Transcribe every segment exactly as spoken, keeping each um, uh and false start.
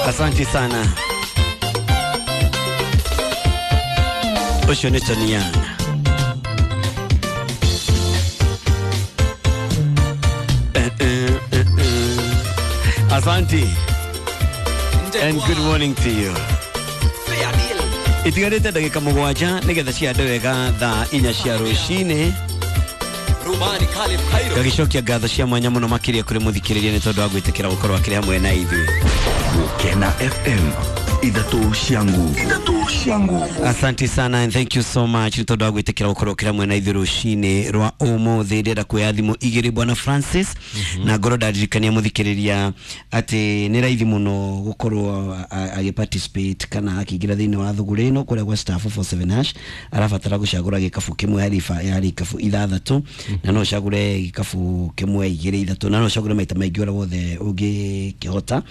Asante sana. Ũcio nĩ Tony Young. Eh, eh, eh, eh. Asante and good morning to you. Itigarĩte ndagĩka mũgwanja nĩgetha ciande wega thaa inya cia rũcinĩ. Ngagĩcokia ngatho cia mwanya mũno makĩria kũrĩ mũthikĩrĩria nĩ tondũ wa gwĩtĩkĩra gũkorwo akĩrĩ hamwe na ithuĩ. Gukena F M, ithatũ cia nguvu, ithatũ cia nguvu. Asante sana and thank you so much nĩ tondũ wa gwĩtĩkĩra gũkorwo ũkĩrĩ hamwe na ithuĩ rũcinĩ rwa ũmũthĩ. Ndĩrenda kuoya thimũ igĩrĩ, bwana Francis, na ngorwo ndaririkania mũthikĩrĩria atĩ nĩ raithi mũno gũkorwo agĩ participate kana akĩingĩra thĩinĩ wa thũgũrĩ ĩno kũrĩa gwa star four four seven hash. Arabatara gũcagũra gĩkabu kĩmwe harĩ iba- harĩ ikabu ithathatũ, na no ũcagũre gĩkabu kĩmwe, igĩrĩ, ithatũ, na no ũcagũre maita maingĩ ũrĩa wothe ũngĩkĩhota.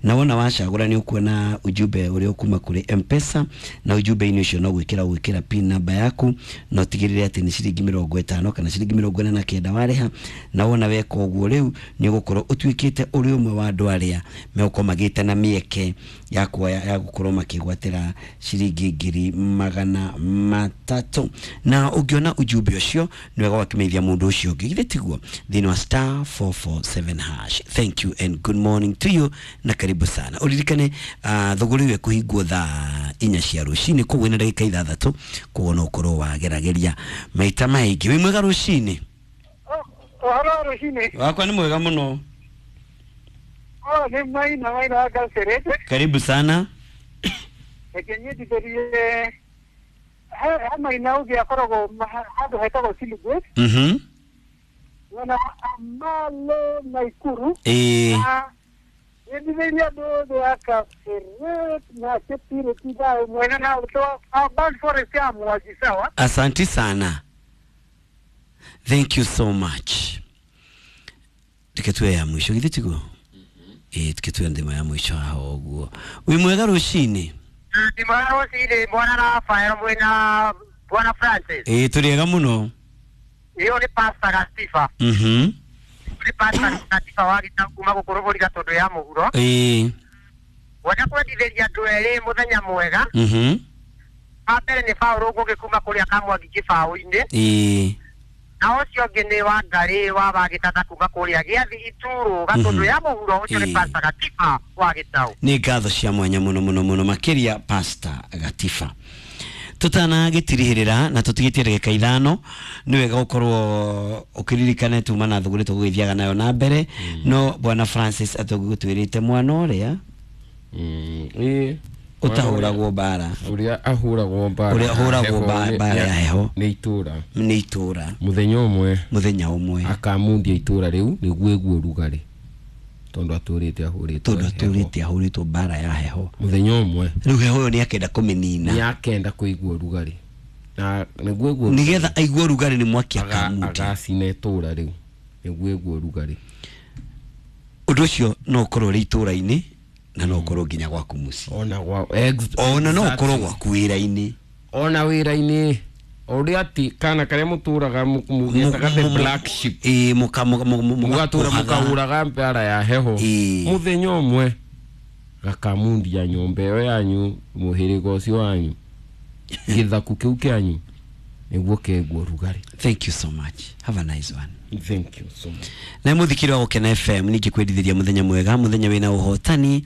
Na wona wacagũra, nĩ ũkuona ujumbe ũrĩa ũkuma kũrĩ M-Pesa, na ujumbe-inĩ ũcio no gwĩkĩra gwĩkĩra PIN namba yaku na ũtigĩrĩre atĩ nĩ ciringi mĩrongo ĩtano kana ciringi mĩrongo ĩna na kenda warĩha. Na wona weka ũguo, rĩu nĩ ũgũkorwo ũtuĩkĩte ũrĩ ũmwe wa andũ arĩa megũkorwo magĩte na mĩeke ya kuoya ya gũkorwo makĩgwatĩra ciringi ngiri magana matatũ. Na ũngĩona ujumbe ũcio, nĩ wega wakĩmenyithia mũndũ ũcio ũngĩ, githĩ tiguo? Thĩinĩ wa star four four seven hash. Thank you and good morning to you na karibu sana. Ũririkane uh, thũgũrĩ ĩyo ĩkũhingwo thaa inya cia rũcinĩ, koguo ĩna ndagĩka ithathatũ, koguo no ũkorwo wagerageria maita maingĩ. Wĩ mwega rũcinĩ? Ũhoro wa rũcinĩ? Wakwa nĩ mwega mũno. Oh, nĩ Maina, Maina wa Kapseret. Karibu sana. Reke nyendithĩrie he he Maina ũngĩ akoragwo ma- handũ hetagwo Silugwe, mhm mwena wa Amalo, Naikuru. Ĩĩ. Na nyendithĩrie andũ othe a Kapseret na Cheptiret thaũ mwena na Ban Forest ya Mwangi, sawa. Asante sana, thank you so much. Reke tuwe ya mwisho, githĩ tiguo? Ĩĩ, tuke tuwe ndĩma ya mwisho haha ũguo. Wĩ mwega rũcinĩ? Ndĩ mwega rũcinĩ, bwana Rafael mwĩna bwana Francis. Ĩĩ, tũrĩ ega mũno. Ĩyo nĩ Pastor Gatiba. mhm Nĩ Pastor Gatiba wa Gĩtau kuma gũkũ Rũgũri Gatũndũ ya mũhuro. Ĩĩ. Wenda kwendithĩria andũ erĩ mũthenya mwega. mhm Wa mbere nĩ Paũlũ Ngũgĩ kuma kũrĩa Kamwangi Kĩbaũ-inĩ. Ĩĩ. Na ũcio ũngĩ nĩ Wangarĩ wa Wagĩtata kuma kũrĩa Gĩathi Ituro Gatũndũ Mhm. ya mũhuro. Ũcio nĩ Ĩĩ. Pastor Gatiba wa Gĩtau. Nĩ ngatho cia mwanya mũno mũno mũno makĩria, Pastor Gatiba. Tũtanagĩtirihĩrĩra na tũtigĩtie ndagĩka ithano, nĩ wega gũkorwo ũkĩririkane tuma na thũgũrĩ tũgũgĩthiaga nayo na mbere. No bwana Francis atũgũtwĩrĩte mwana ũrĩa Mm, ĩĩ. ũtahũragwo mbara. Ũrĩa ahũragwo mbara. Ũrĩa ahũragwo heho mba- nĩ- mbara ya heho. Nĩ itũra. Nĩ itũra. Mũthenya ũmwe. Mũthenya ũmwe. Akamundia itũra rĩu nĩguo ĩguo ũrugarĩ, tondũ atũrĩte ahũrĩtwo Tondũ heho. atũrĩte ahũrĩtwo mbara ya heho. Mũthenya ũmwe. Rĩu heho ĩyo nĩ akenda kũmĩnina. Nĩ akenda kũigua ũrugarĩ na nĩguo ĩguo. Nĩgetha aigue ũrugarĩ nĩ mwaki aga- akamundia. Agacina itũra rĩu nĩguo ĩguo ũrugarĩ. Ũndũ ũcio no ũkorwo ũrĩ itũra-inĩ na no ũkorwo nginya gwaku mũciĩ. Ona gwa ex- Ona no exactly. ũkorwo gwaku wĩra-inĩ. Ona wĩra-inĩ, ũrĩa ati kana karĩa mũtũraga mũgĩtaga the black sheep. Ĩĩ, mũka- mũka- mũka- Mũgatũra mũgakũhaga. mũkahũraga mbara ya heho. Ĩĩ. Mũthenya ũmwe gakamundia nyũmba ĩyo yanyu, mũhĩrĩga ũcio wanyu, gĩthaku kĩu kĩanyu nĩguo keguo rugarĩ. Thank you so much, have a nice one. Thank you so much. Na muthikiri wa Gukena F M, ningĩ kwendithĩria mũthenya mwega, mũthenya wĩna ũhotani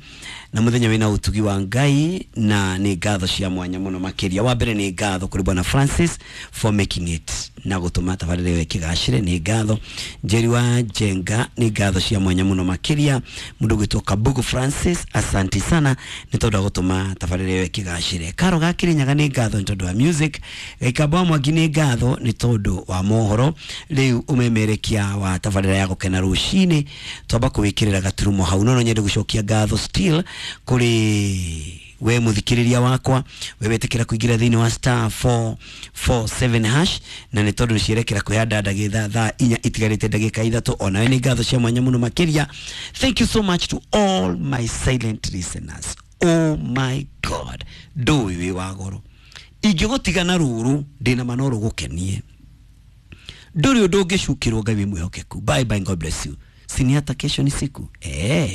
na mũthenya wĩna ũtugi wa Ngai. Na nĩ ngatho cia mwanya mũno makĩria. Wa mbere nĩ ngatho kũrĩ bwana Francis for making it na gũtũma tabarĩra ĩyo ĩkĩgacĩre. Nĩ ngatho Njeri wa Njenga, nĩ ngatho cia mwanya mũno makĩria. Mũndũ ũgwĩtwo Kabugu Francis, asanti sana nĩ tondũ wa gũtũma tabarĩra ĩyo ĩkĩgacĩre. Karo ga Kĩrĩnyaga, nĩ ngatho nĩ tondũ wa music. Gĩkamba wa Mwangi, nĩ ngatho nĩ tondũ wa mohoro. Rĩu ũmemerekia wa tabarĩra ya Gũkena rũcinĩ twamba kũwĩkĩrĩra gaturumo hau. No no nyende gũcokia ngatho still kũrĩ we mũthikĩrĩria wakwa, we wetĩkĩra kũingĩra thĩinĩ wa star four four seven hash, na nĩ tondũ nĩcierekera kwĩhanda ndagĩtha thaa inya itigarĩte ndagĩka ithatũ. Onawe nĩ ngatho cia mwanya mũno makĩria. Thank you so much to all my silent listeners. Oh my God, ndũĩ wĩ wa goro. Ingĩgũtiga na rũrũ ndĩna ma no rũgũkenie. Ndũrĩ ũndũ ũngĩcukĩrwo. Ngai wĩ mwĩhokeku. Bye bye, God bless you. Sini hata kesho ni siku eh.